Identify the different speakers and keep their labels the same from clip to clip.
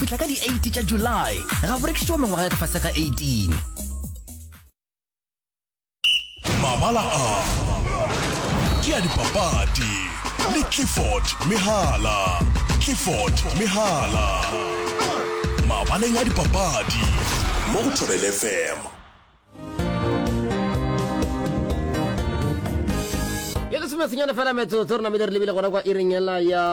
Speaker 1: Fihla ka di 8 tša July, ga go rekišetšwa mengwaga ya ka fase ga 18.
Speaker 2: Mabala a ke a dipapadi le Clifford Mehala. Clifford Mehala. Mabaleng a dipapadi mo go Thobela FM.
Speaker 3: Ye lesomesenyane fela metsotso re namile re lebile gona kwa iring ela ya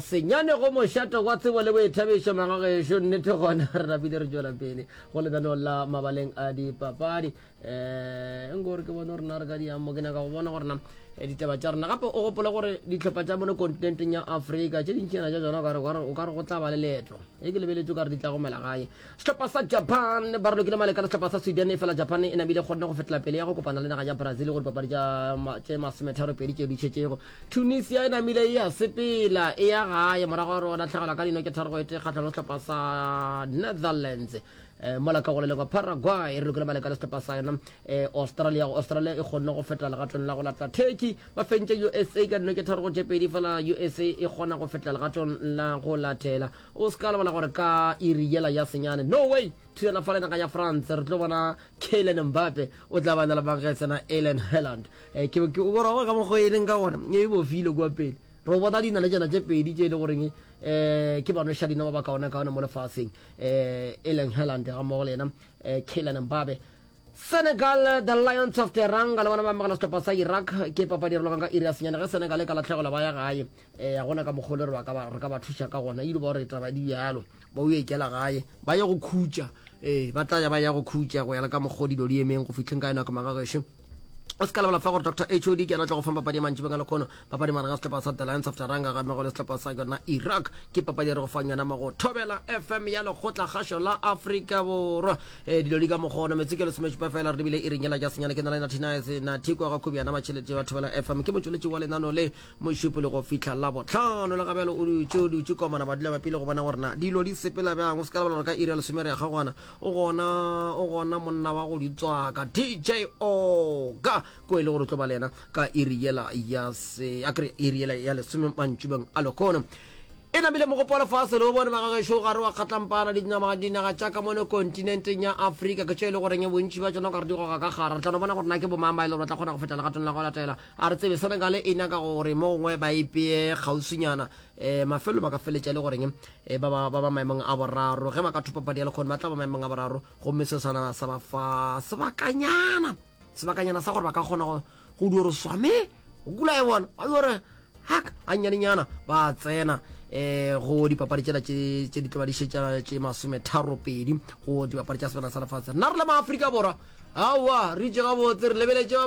Speaker 3: senyane go mošato wa tsebo le boithabišo magagešo nnete gona re napile re tšwela pele go lenaneo la mabaleng a dipapadi um nko gore ke bone gore na re ka diang mo ke nyaka go bona gore na eh, ditaba tša rena gape o gopole gore dihlopha tša mono kontinenteng ya afrika tše dintšinyana tša tsona o ka re go tla ba le leetlo e ke lebeletše o ka re di tla gomela gae Sehlopha sa Japan ba ralokile maleka le sehlopha sa Sweden efela Japan e namile kgonne go fetela pele ya go kopana le naga ya Brazil go dipapadi tša tše masometharopedi tšeo di šetšego. Tunisia e namile e ya sepela e ya gae morago ga gore o lahlegelwa ka dino ke tharo go e tee kgahlano le sehlopha sa Netherlands. Eh, mola ka go le lengwe Paraguay e ralokile maleka le sehlopha sa yona eh, Australia. Australia e kgonne go fetela legatong la go latela Turkey ba fentše USA ka dino ke tharo go tše pedi fela USA e kgona go fetela legatong la go latela. O se ka lebala gore ka iri yela ya senyane Norway thulana fa le naga ya France re tlo bona Kylian Mbappe o tla ba na le mangesena Erling Haaland. Eh, ke ke o bona ka mokgwa e leng ka gona e bofile kua pele. Re bona dinaletsana tše pedi tše e le goreng eh ke banošadino ba ba kaone-kaone mo lefaseng eh Erling Haaland ga mmogo le yena eh Kylian Mbappe. Senegal, The Lions of Teranga le bona ba amogela sehlopha sa Iraq ke papadi e ralokwang ka iri ya senyane ge Senegal e ka lahlegelwa ba ya gae eh ga gona ka mokgwa le re ba ka ba re ka ba thuša ka gona ile ba gore taba di bjalo ba o ikela gae ba ye go khutša eh ba tla ya ba ya go khutša go ya le ka mokgwa dilo di emeng go fihleng ka yona ka magagešo o se ka lebala fa gore dr hod ke yena tla go fang papadi ya mantšibeng a lekgono papadi magareng ga sehlopha sa the lions of teranga ga mmogo le sehlopha sa yona iraq ke papadi e re go fang yona mo go thobela fm ya lekgotla kgašo la afrika borwa e dilo di ka mokgono metse ke lesomešupa fela re lebile e ringela ja senyane ke na le nathinaese nathiko ga khubjana matšhelete wa thobela fm ke motšweletši wa lenano le mošupo le go fihla la botlhano le gabjalo o dutše o dutše komana ba dula bapile go bona gore na dilo di sepela bjang o se ka lebala gore ka iri ya lesome re ya kgagwana o gona o gona monna wa go di tswaka dj oga ko e le gore o tlo ba le yena ka iri yela ya se a kere iri yela ya lesome mantšubeng a lekgono e namile mogopo wa lefase le o bone bagagešo gare wa kgatlampana dinama dinaga tša ka mono kontinenteng ya afrika ke tše e le goreng bontši ba tšona ka re di goga ka gare re tla no bona gore na ke bomang ba e le gore ba tla kgona go feta legatong la go latela A re tsebe, Senegal e nyaka gore mo gongwe ba ipee kgauswinyana. Um mafelelo ba ka feletša e le goreng eh, ba ba ba ba maemong a boraro. Ge ba ka thopa padi ya lekgono ba tla ba maemong a boraro, gomme seo sona sa ba fa sebakanyana, sebakanyana sa gore ba ka kgona go go dio re swame go kula e bona ba dio re hak gannyanenyana ba tsena eh go dipapadi tšela tše tše di tlo ba di šetša tše masometharopedi go dipapadi tša sebana sa lefatshe. Nna re le maafrika borwa aowa re itše gabotse re lebeletše ba.